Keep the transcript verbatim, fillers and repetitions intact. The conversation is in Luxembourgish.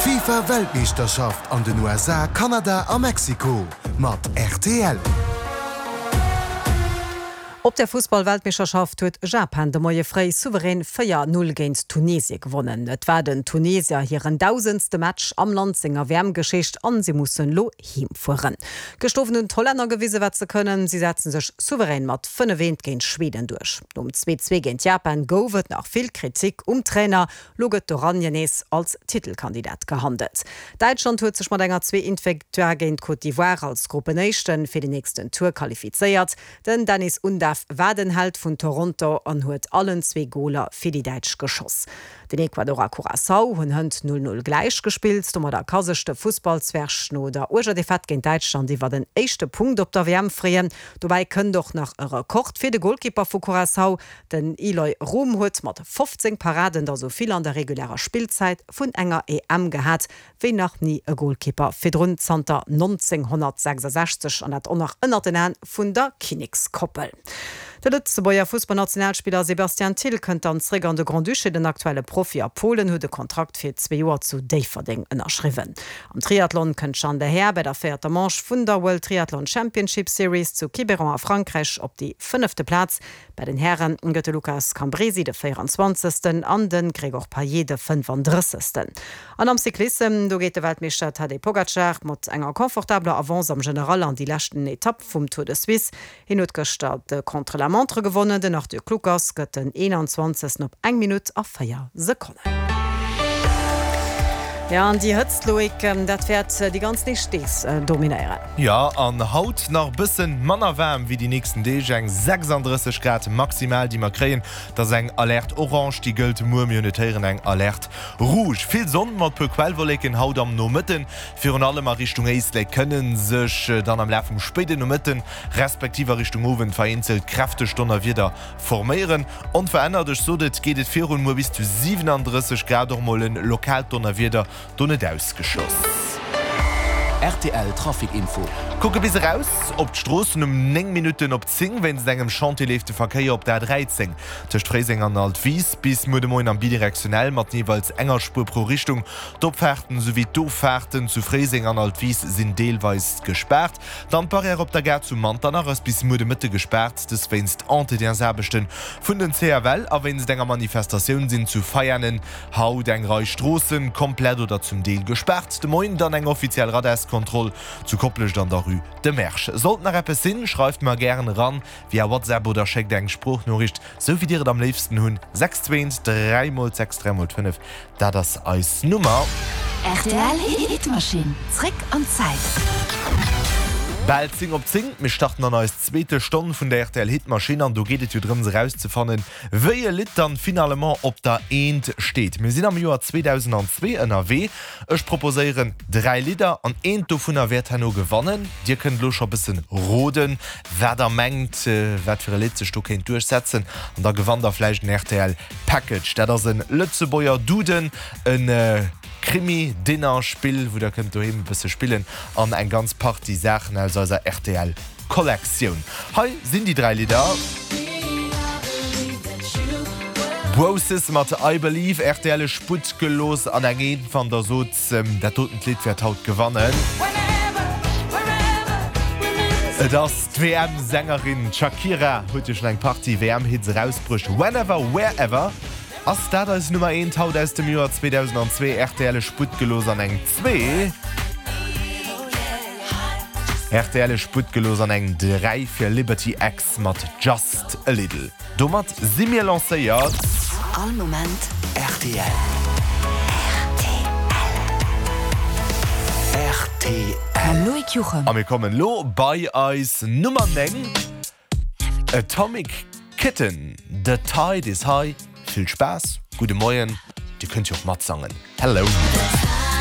D'FIFA Weltmeeschterschaft an den U S A, Kanada a Mexiko mat R T L. Op der Fussball-Weltmeeschterschaft huet Japan de Moie fréi souverän véier null géint Tunesie gewonnen. Et war den Tunesier hiren dausendste Match am Land senger W M-Geschicht an si mussen lo heemfueren. Gëschter Owend hunn d'Hollänner gewisen, wat se kënnen. Si setzen sech souverän mat fënnef eent géint Schweden duerch. Nom zwee zwee géint Japan gouf et nach vill Kritik um Trainer. Lo gëtt d'Oranje nees als Titelkandidat gehandelt. Däitschland huet sech mat enger zwee eent Victoire géint Côte d'Ivoire als Gruppenéischte fir den nächsten Tour qualifizéiert. Den Dennis Undav war den Held vun Toronto an huet allen zwee Goler fir déi Däitsch geschoss. Den Ecuador a Curaçao hunn hënt null null gläich gespillt, domadder ka sech de Fussballzwerg no der uerger Defaite géint Däitschland iwwer den éischte Punkt op der W M freeën. Dobäi kënnt och nach e Rekord fir de Golkeeper vu Curaçao. Den Eloy Room huet mat fofzéng Paraden der sou vill an der regulärer Spillzäit vun enger E M gehat wéi nach ni e Golkeeper virdrun zanter nonzénghonnertsechsasechzeg, an dat och nach ënner den Aen vun der Kinnekskoppel. De Lëtzebuerger Fussballnationalspiller Sébastien Thill kënnt dann zréck an de Grand-Duché. Den aktuelle Profi a Polen huet de Kontrakt fir zwee Joer zu Déifferdeng ënnerschriwwen. Am Triathlon kënnt Jeanne Lehair bei der véierter Manche vun der World Triathlon Championship Series zu Quiberon a Frankräich op déi fënnefte Plaz. Bei den Hären gëtt de Lukas Cambresi de véierenzwanzegsten an de Gregor Payet de fënnefandrëssegsten. An am Cyclissem, do geet de Weltmeeschter Tadej Pogacar mat enger confortabeler Avance am General an déi leschten Etapp vum Tour de Suisse. Hien huet gëschter de Contre-la-Montre gewonnen, den Arthur Kluckers gëtt den eenanzwanzegsten op eng Minutt a véier Sekonnen. Ja, an déi Hëtzt, Loïc, dat wäert déi ganz nächst Deeg dominéieren. Ja, an haut nach bëssen manner waarm wéi déi nächsten Deeg, eng sechsandrësseg Grad maximal, déi mer kréien. Dat ass eng Alerte orange, déi gëllt muer, mir hunn et héieren, eng Alerte rouge. Vill Sonn mat puer Quellwolleken haut am Nomëtten, virun allem a Richtung Éislek kënne sech dann am Laf vum spéiden Nomëtten respektiv a Richtung Owend vereenzelt kräfteg Donnerwieder forméieren. Onverännert, ech sot et, geet et virun, muer bis zu siwenandrësseg Grad, och mol en lokaalt Donnerwieder do net ausgeschloss. R T L Trafic Info. Kucke bis eraus op d'Stroossen um néng Minutten op zéng. Wéinst engem Chantier leeft de Verkéier op der A dräizéng tëscht Fréiseng an Altwis bis muer de Moien am bidirektionell mat jeeweils enger Spuer pro Richtung. D'Opfaarten souwéi d'Offaarten zu Fréiseng an Altwis sinn deelweis gespaart. Dann d'Barrière op der Gare zu Manternach ass bis muer de Mëtte gespaart, dës wéinst Entretiensaarbechte vun den C F L, a wéinst enger Manifestatioun sinn zu Veianen haut eng Rei Stroosse komplett oder zum Deel gespaart. De Moien dann eng offiziell Radarskontroll zu Koplescht an der Rue de Mersch. Sollt nach eppes sinn, schreift mer gären eran via WhatsApp oder schéckt eng Sproochnoriicht, sou wéi dir et am léifsten hunn. sechs zwee dräi mol sechs dräi mol fënnef, dat ass eis Nummer. R T L Hitmaschinn. Zréck an d'Zäit. Bal zéng op zéng, mir starten an eis zweete Stonn vun der R T L Hitmaschinn an do geet et jo drëms erauszefannen, wéi e Lidd dann finalement op der Eent steet. Mir sinn am Joer zweedausendzwee ënnerwee. Ech proposéieren dräi Lidder an eent dovunner wäert herno gewannen. Dir kënnt lo scho bëssen roden, wat der mengt, wat fir e Lidd sech do kéint duerchsetzen, an da gewannt der vläicht en R T L Package. Dat ass e Lëtzebuerger Duden, e Krimi Dinner Spill, wou der kënnt doheem e bësse spillen, an eng ganz Partie Saachen aus eiser R T L Kollektioun. Hei sinn déi dräi Lidder. Bro'Sis mat I Believe, R T L Sputt gelooss an eng Eent wann der sot, dat dotent Lidd wäert haut gewannen. Et ass d'W M-Sängerin Shakira, huet jo schonn eng Partie W M-Hits erausbruecht. Whenever, Wherever. Ass dat eis Nummer eent haut aus dem Joer zweedausendzwee? R T L Sputt gelooss an eng zwee. R T L Sputt gelooss an eng dräi fir Liberty X mat Just a Little. Domat si mir lancéiert. All Moment R T L. R T L. R T L. Mam Loïc Juchem. A mir kommen lo bei eis Nummer néng. Atomic Kitten, The Tide is High. Vill Spaass, gudde Moien, dir kënnt jo och matsangen. Hello.